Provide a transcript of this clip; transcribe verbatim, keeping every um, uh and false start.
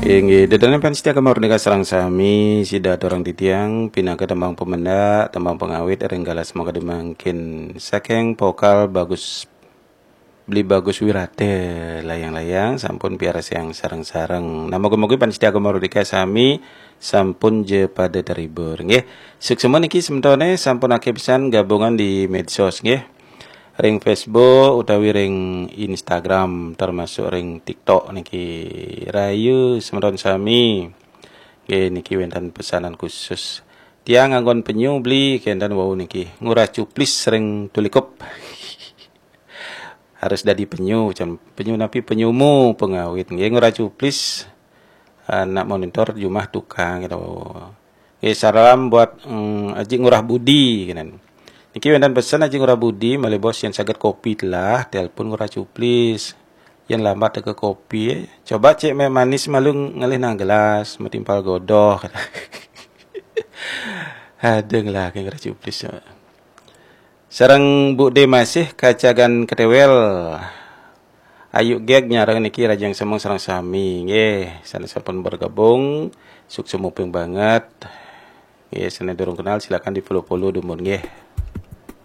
Inggih, ida dané pamiarsa Gema Merdeka sareng sami, sida aturang titiang pinaka tembang pemendak, tembang pengawit ring galah semangkadi mangkin saking vokal Bagus Beli Bagus Wirata, layang-layang sampun piarsayang sareng-sareng. Nah, mugi-mugi pamiarsa Gema Merdeka sami sampun ja pada terhibur, nggih. Suksma niki sementone sampun akeh pisan gabungan di medsos, nggih. Ring Facebook utawi ring Instagram, termasuk ring TikTok niki. Rahayu semeton sami. Nggih, niki wénten pesanan khusus. Tiang nganggon penyu Beli, kénten wau niki. Ngurah cuplis ring tulikup. Harus dadi penyu, cen penyu napi, penyumu pengawit. Nggih, ngurah cuplis. Anak monitor jumah tukang gitu. Nggih, salam buat mm, Aji Ngurah Budi, kénten. Niki wénten pesen Aji Ngurah Budi, malih bos yén saged kopi telah, telepon Ngurah Cuplis. Yén lambat teka kopi, coba cek meh manis malu ngalih nang gelas, matimpal godoh. Aduh, ngelah Ngurah Cuplis. Sareng Bu D masih kacagan ketewel. Ayu geg nyareng niki rahajeng semeng sareng sami. Nggih, sané sampun bergabung, suksma muping banget. Nggih, sané durung kenal silakan di-follow-follow dumun nggih.